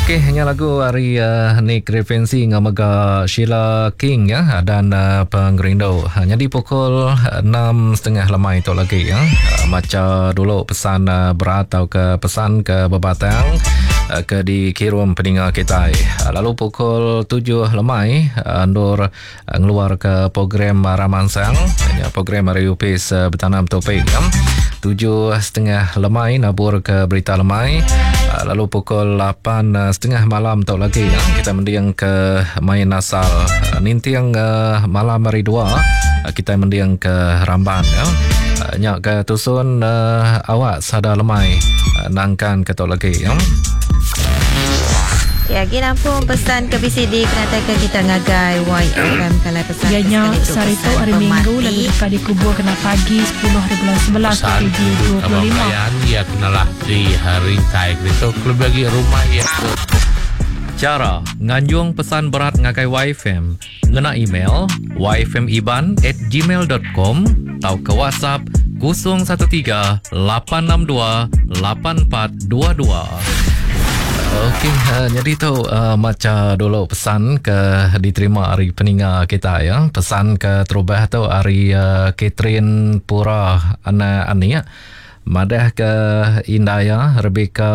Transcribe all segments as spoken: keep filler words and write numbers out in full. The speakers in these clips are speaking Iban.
Okey, nya lagu ari uh, Nick Referensi ngau mega Sheila King ya dan uh, Pengerindu. Jadi pukul enam setengah lemai tu lagi ya. Uh, maca dulu pesan uh, berat atau ke pesan ke bebatang uh, ke dikirim peninga kita. Uh, lalu pukul tujuh lemai uh, Nur uh, ngeluar ke program Ramansang, ya, program hari Upis uh, bertanam topik ya. Tujuh setengah lemai nabur ke berita lemai. Lalu pukul lapan setengah malam tu lagi ya, kita mendiang ke main asal. Nintiang uh, malam hari dua kita mendiang ke Ramban ya. Nyak ke tusun uh, awak sada lemai nangkan ke tu lagi ya. Ya, gini pun pesan ke B C D kena ke kita ngagai Y F M kalau pesan ya, nya sehari tu hari Minggu lalu dekat dikubur kena pagi sepuluh hari bulan sebelas dua ribu dua puluh lima. Ya kenalah di hari tai itu lebih bagi rumah ya. Cara nganjung pesan berat ngagai Y F M ngena email y f m iban at gmail dot com atau ke WhatsApp kosong satu tiga lapan enam dua lapan empat dua dua. Okey, uh, jadi tu uh, maca dulu pesan ke diterima hari peninga kita ya. Pesan ke terubah tu hari uh, Catherine Pura anak ani ya. Madah ke Indaya Rebecca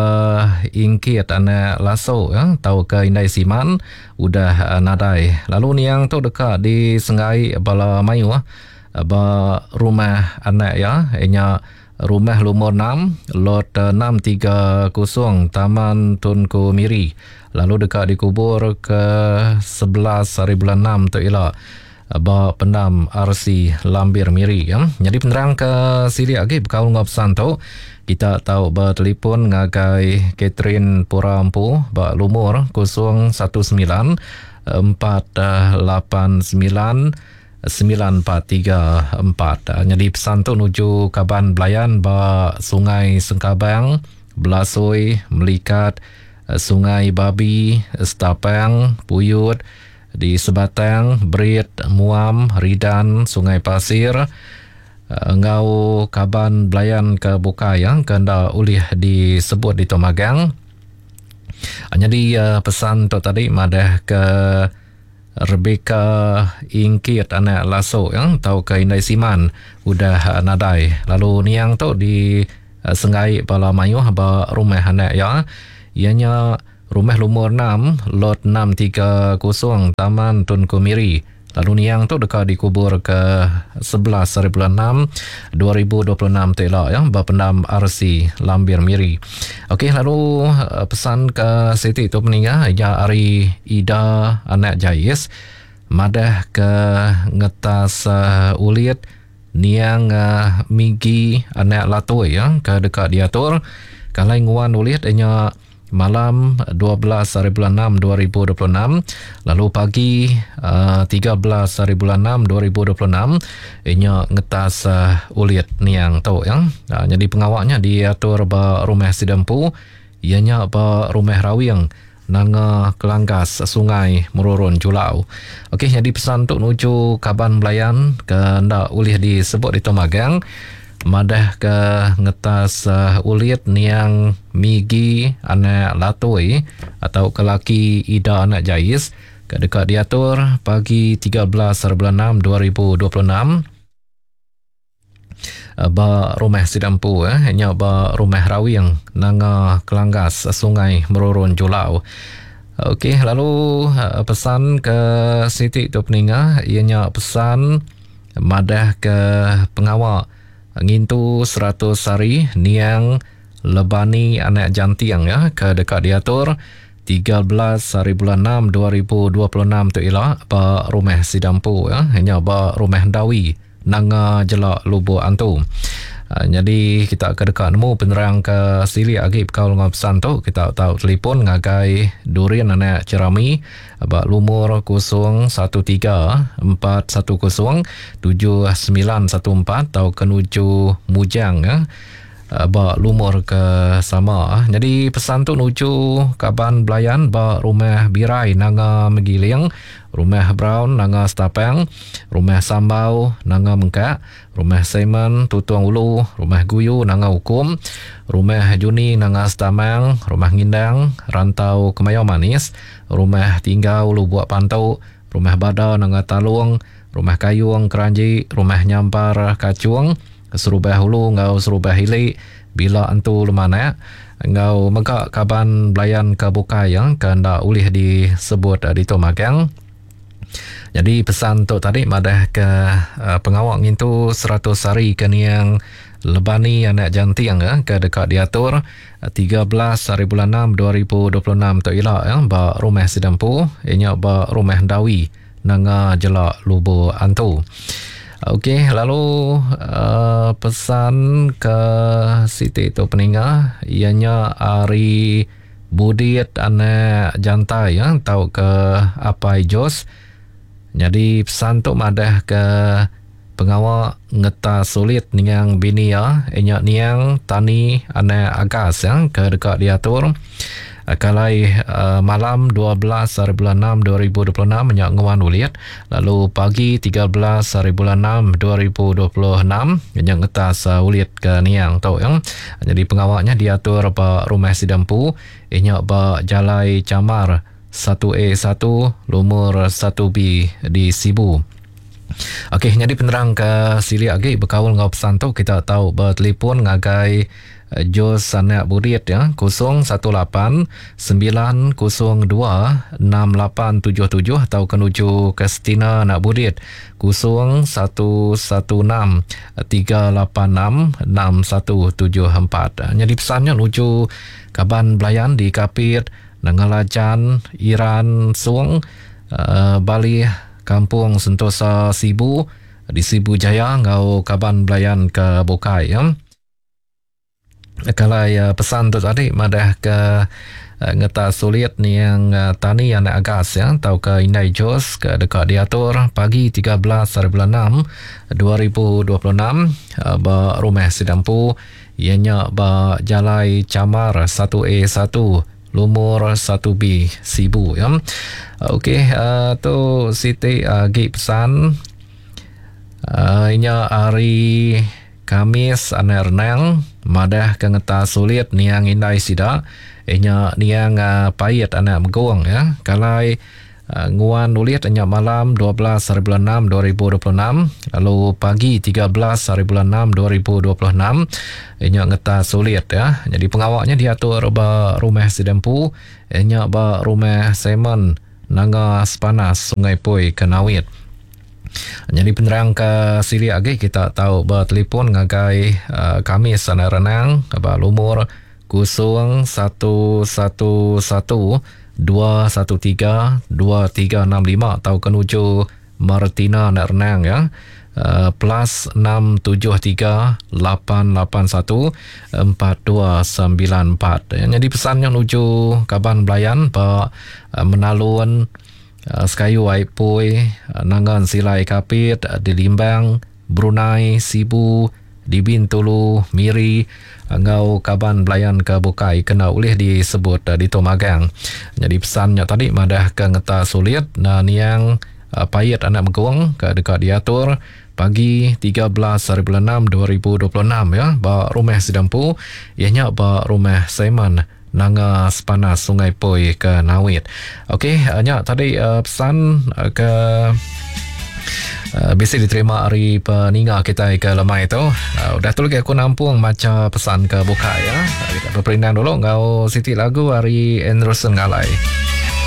Ingkit anak Laso ya, tau ke Indai Siman udah uh, nadai. Lalu niang tu dekat di Sengai Bala Mayu uh, ba rumah anak ya, inya rumah lumur enam, lot enam tiga kosong Taman Tunku Miri. Lalu dekat dikubur ke sebelas hari bulan enam tu ialah ba pendam R C Lambir Miri ya. Jadi penerang ke sini lagi berkaul dengan pesan tu kita tahu bertelefon ngagai Catherine Pura Empu ba lumur kosong satu sembilan empat lapan sembilan sembilan empat tiga empat. Jadi pesan tu nuju Kaban Belayan ba Sungai Sengkabang, Belasoi, Melikat, Sungai Babi, Setapang, Puyut, di Sebatang, Berit, Muam, Ridan, Sungai Pasir, ngau Kaban Belayan ke Bukai yang kena ulih disebut di Tomagang. Jadi pesan tu tadi madah ke Rebecca Ingkit anak Laso yang tau ke Indai Siman udah nadai. Lalu niang tu di uh, Sengai Bala Mayuh ba rumah anak ya. Ianya rumah lumur enam lot enam tiga kosong Taman Tunku Miri. Lalu niang tu dekat dikubur ke sebelas hari bulan enam dua ribu dua puluh enam tela ya ba pendam R C Lambir Miri. Okey, lalu pesan ke Siti tu meninggal ya hari Ida anak Jais madah ke ngetas uh, ulit niang uh, Migi anak Latoi ya ke dekat diatur kalai nguan ulit nya malam dua belas hari bulan enam dua ribu dua puluh enam, lalu pagi uh, tiga belas hari bulan enam dua ribu dua puluh enam inya ngetas uh, ulit niang tu ya. Uh, jadi pengawaknya diatur ba rumah Sidempu ianya ba rumah Rawing Nanga Kelanggas Sungai Merurun Julau. Okey, jadi pesan tu nuju Kaban Belayan ke ndak ulih disebut di Tomagang madah ke ngetas uh, ulit niang Migi anak Latoi atau ke laki Ida anak Jais ke dekat diatur pagi tiga belas hari bulan enam dua ribu dua puluh enam ba rumah Sidampu eh nya ba rumah Rawing Nanga Kelanggas Sungai Merurun Julau. Okey, lalu uh, pesan ke Siti tu peninga ianya pesan madah ke pengawak ngintu seratus hari niang Lebani anak Jantiang ya ke dekat diatur tiga belas hari bulan enam dua ribu dua puluh enam tu ialah ba rumah Sidampu ya hanya ba rumah Dawi Nanga Jelak Lubuk Antu. Uh, jadi kita ke dekat nemu penerang ke silik agi bekal dengan pesan tu kita tahu telefon ngagai Durian anak Cerami ba lumur kosong satu tiga empat satu kosong tujuh sembilan satu empat atau kenuju Mujang ya ba lumur ke sama. Jadi pesan tu nuju Kaban Belayan ba rumah Birai Nanga Megiling, Rumah Brown Nanga Stapang, Rumah Sambau Nanga Mengkak, Rumah Simon Tutong Ulu, Rumah Guyu Nanga Ukum, Rumah Juni Nanga Stamang, Rumah Ngindang Rantau Kemayau Manis, Rumah Tinggau Lubuk Pantu, Rumah Bada Nanga Talung, Rumah Kayung Keranji, Rumah Nyampar Kacung, Serubah Hulu ngau Serubah Hilik, Bila Entu Lemanak, ngau mega kaban belayan ke bukai yang kena ulih disebut di tu magang. Jadi pesan tu tadi madah ke uh, pengawak ngintu seratus hari ke niang Lebani anak janting ya, ke dekat diatur tiga belas hari bulan enam dua ribu dua puluh enam tu ila ya, ba rumah Sidampu inya ba rumah Dawi Nanga Jelak Lubuk Antu. Okey, lalu uh, pesan ke Siti tu peninga ianya ari Budit anak jantai ya, tau ke Apai Jos. Jadi pesan tu madah ke pengawak ngeta sulit niang bini ya, inya niang Tani anak Agas ya, ke dekat diatur kalai uh, malam dua belas hari bulan enam dua ribu dua puluh enam nyak nguan ulit, lalu pagi tiga belas hari bulan enam dua ribu dua puluh enam nyak ngetas uh, ulit ke niang tu ya. Jadi pengawaknya diatur ba rumah Sidampu inyak ba Jalai Camar satu A satu lumur satu B di Sibu. Okey, jadi penerang ke silik lagi berkaul ngau pesan tu kita tahu bertelefon ngagai Jos anak Budit ya, kosong satu lapan sembilan kosong dua enam lapan tujuh tujuh atau kenuju Kestina anak Budit kosong satu satu enam tiga lapan enam enam satu tujuh empat. Jadi pesannya nuju kaban belayan di Kapit, Nangalajan, Iran, Suang, uh, Bali, Kampung Sentosa Sibu di Sibu Jaya ngau kaban belayan ke Bukai ya. Kalau ya, pesan tu tadi madah ke uh, ngeta sulit ni yang uh, tani anak agas ya, atau ke Indai Jos ke dekat diatur pagi tiga belas hari bulan enam dua ribu dua puluh enam uh, ba rumah Sidampu ianya ba Jalai Camar satu A satu lumur satu B Sibu ya. Okey, uh, tu Siti uh, gi pesan uh, inya hari Kamis anak renang madah ke ngeta sulit niang indai sida inya niang uh, pait anak megong ya. Kalai uh, nguan ulit inya malam dua belas hari bulan enam dua ribu dua puluh enam lalu pagi tiga belas hari bulan enam dua ribu dua puluh enam inya ngeta sulit ya. Jadi pengawaknya diatur ba rumah Sidampu inya ba rumah Simon Nanga Sepanas Sungai Pui Kenawit. Jadi penerang ke silik lagi kita tahu bertelefon ngagai uh, Kamis anak renang ba lumur kosong satu satu satu dua satu tiga dua tiga enam lima atau kenuju Martina anak renang ya. Uh, plus enam tujuh tiga lapan lapan satu empat dua sembilan empat. Ya, jadi pesannya menuju kaban belayan ba uh, Menalun uh, Sekayu Aipui, uh, Nangan Silai Kapit, uh, di Limbang, Brunei, Sibu, di Bintulu, Miri, ngau kaban belayan ke Bukai kena ulih disebut uh, di Tomagang. Jadi pesannya tadi madah ke ngeta sulit na niang uh, pait anak megong ke dekat diatur pagi tiga belas hari bulan enam dua ribu dua puluh enam ya ba rumah Sidampu ianya ba rumah Simon Nanga Sepanas Sungai Poi ke Nawit. Okey, nya tadi uh, pesan uh, ke uh, bisa diterima hari peninga kita ke lemai tu. Uh, udah tu lagi aku nampung maca pesan ke buka ya. Uh, kita berperindang dulu ngau Siti lagu hari Anderson Ngalai.